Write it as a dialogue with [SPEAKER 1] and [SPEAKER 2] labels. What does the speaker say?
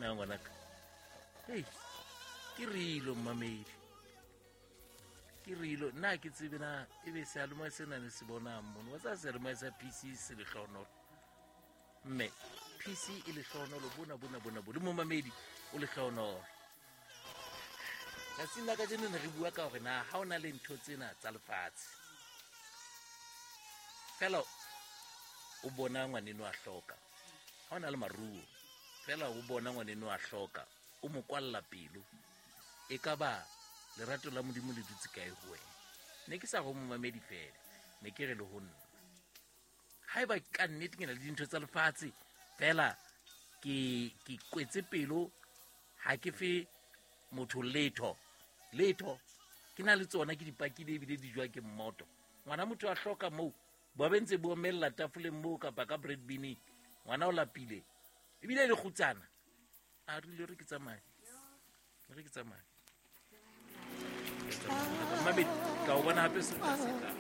[SPEAKER 1] Na ngwanaka, hei, ke rilo mmamedi, ke rilo nna ke tsebe na ebe seyalemoya sena ne se bonang mono. Wa tsaya seyalemoya sa PC se lehlohonolo, mme PC e lehlohonolo bona bona bona bo le momamedi o lehlohonolo. Tsatsing la kajeno ne re bua ka hore na ha o na le ntho tsena tsa lefatshe fela o bona ngwaneno a hloka, ha o na le maruo fela o bona ngwaneno a hloka, o mo kwalla pelo, e ka ba lerato la Modimo le dutse kae ho wena? Ne ke sa go momamedi fela, ne ke re le ho nna, ha eba ka nnete ke na le dintho tsa lefatshe fela ke kwetse pelo, ha ke fe motho letho letho, ke na le tsona, ke di pakile ebile di jwa ke mmoto, ngwana motho a hloka moo, ba be ntse bo omella tafoleng moo kapa ka bread bineng, ngwana o lapile ebile le kgutsana, a rile re ke tsamaye, re ke tsamaye. Mamedi, ka o bona hape se tla se tla.